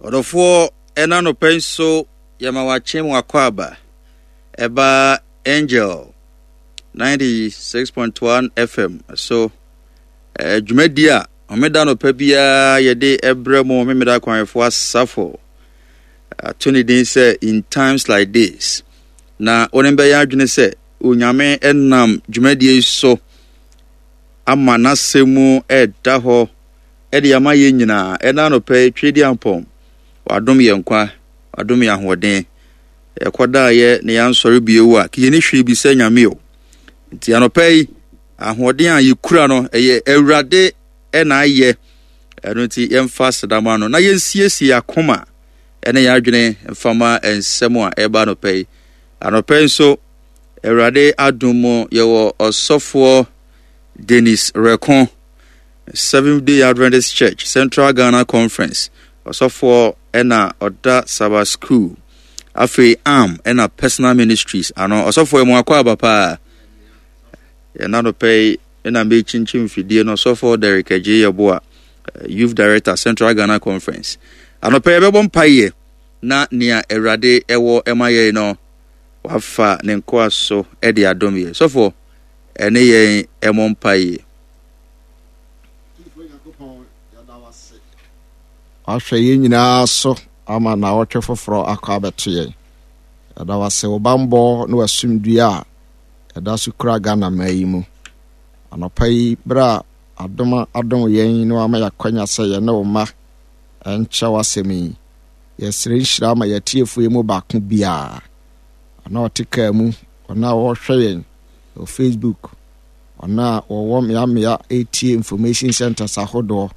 Ɔdɔfoɔ, ɛna anɔpa yi nso yɛma wakye mu akwaaba ɛba Angel 96.1 FM so dwumadi a homeda anɔpa biara yɛde ɛbrɛ mu Homeda Akwanhwɛfoɔ Asafo ato ne din sɛ In Times Like This. Na wɔn bɛyɛ adwene sɛ Onyame nam dwumadie yi so ama n'asɛm mu ɛda hɔ de ama yɛn nyinaa. Ɛna anɔpa yi, Tweediampɔn, wadom yɛn nkwa, wadom yɛn ahoɔden. Yɛkɔdaeɛ na yɛansɔre bio a, yɛnni hwee bi sɛ Nyame o. Nti anɔpa yi, ahoɔden a yɛkura no, ɛyɛ Awurade na ayɛ. Ɛno nti yɛmfa aseda ma no na yɛnsiesie akoma ɛne yɛn adwene mfa ma nsɛm a ɛba anɔpa yi. Anɔpa yi nso, Awurade adom mu yɛwɔ ɔsɔfoɔ Dennis Reko. Seventh Day Adventist Church, Central Ghana Conference, ɔsɔfoɔ ɛna ɔda Sabbath School, afei ARM ɛna Personal Ministries ano. Ɔsɔfoɔ yɛ mo akɔ aba paa. Yɛn anɔpɛ yi ɛna mekyinkyim mfidie no ɔsɔfoɔ Derek Agye Yeboah, Youth Director, Central Ghana Conference. Anɔpɛ yɛbɛbɔ mpaeɛ na nea Awurade ɛwɔ ɛma yɛn no wafa ne nkoa so ɛde adom yɛ. Sɔfoɔ ɛne yɛn ɛmɔ mpaeɛ. Wahwɛ yɛn nyinaa so ama naawɔtwe foforɔ akɔ abɛto yɛn. Yɛda wo ase wo bammɔ ne w'asomdwie a ɛda so kura Ghana man yi mu. Anɔpa yi, berɛ a adom adom yɛn na wama yɛakwanya sɛ yɛne wo mma nkyɛ w'asɛm yi, yɛsrɛ nhyira ma yɛatiefoɔ yi mu baako biara, ɔno a ɔte kaa mu, ɔno a ɔrehwɛ yɛn wɔ Facebook, Wɔn a wɔwɔ mmeammea retie information centers ahodoɔ,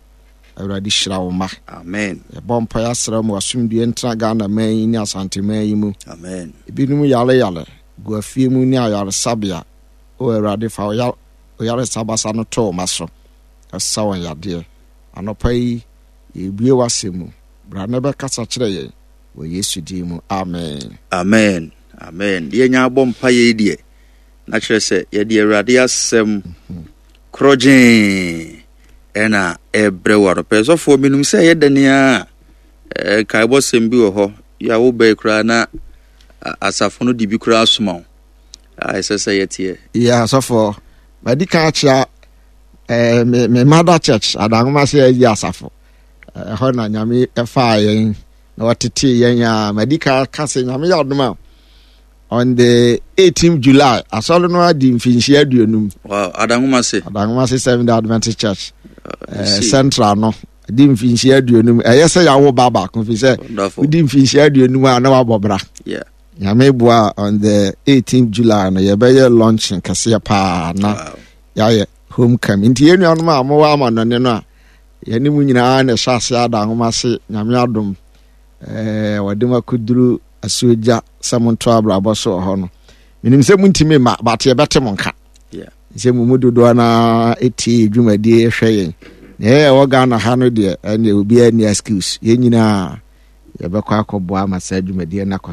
Awurade hyira wo mma. Amen. Yɛbɔ mpaeɛ asrɛ mo asomdue ntena Ghana man yi ne Asante man yi mu. Amen. Ebinom yare yare gu afie mu ne ayaresabea. O Awurade fa wo yaresa basa no to wo mma so na sa wɔn yadeɛ. Anɔpa yi yɛrebue w'asɛm mu. Bra na bɛkasa kyerɛ yɛn wɔ Yesu din mu. Amen. Amen. Amen. Deɛ nya abɔ mpaeɛ yi deɛ Na kyerɛ sɛ, yɛde Awurade asɛm korɔgyee ɛna ɛbrɛ wo anɔpɛ. Sɔfoɔ, menim sɛ ɛyɛ dɛn a nkaebɔsɛm bi wɔ hɔ yɛ a wobɛyi koraa na asafo no de bi koraa soma wo a ɛsɛ sɛ yɛteɛ. Yɛ asɔfoɔ, madi kan akyea eh, me, me mother church, Adanwoma sɛ ayi asafo. Ɛhɔ na Nyame ɛfaa yɛn na wɔtetee yɛn a madi kan ka sɛ Nyame yɛ adom a on the 18th July asɔre no adi mfinhyia 50. Wow, Adanwomase. Adanwomase Seventh Day Adventist Church. Central no di mfinhyia 50. Ɛyɛ sɛ yɛawo ba baako fi sɛ wodi mfinhyia 50 a na wabɔ bra. Yeah. Nyame boa on the 18th July no yɛbɛyɛ launching kɛseɛ paa na wow. yɛayɛ homecoming. Nti yɛn nuanom a mowɔ amanɔne no a yɛne mu nyinaa na ɛhyɛ ase Adanwomase Nyame adom wɔde mu akɔduru asuogya sɛ monto abrabɔ so wɔ hɔ no menim sɛ montumi mma but yɛbɛte mo nka sɛ mo mu dodoɔ no ɛtie dwumadie hwɛ yɛn na ɛyɛ ɛwɔ Ghana ha no deɛ ɛneɛ obiara nni excuse yɛn nyinaa yɛbɛkɔ akɔboa ama saa dwumadie no akɔ.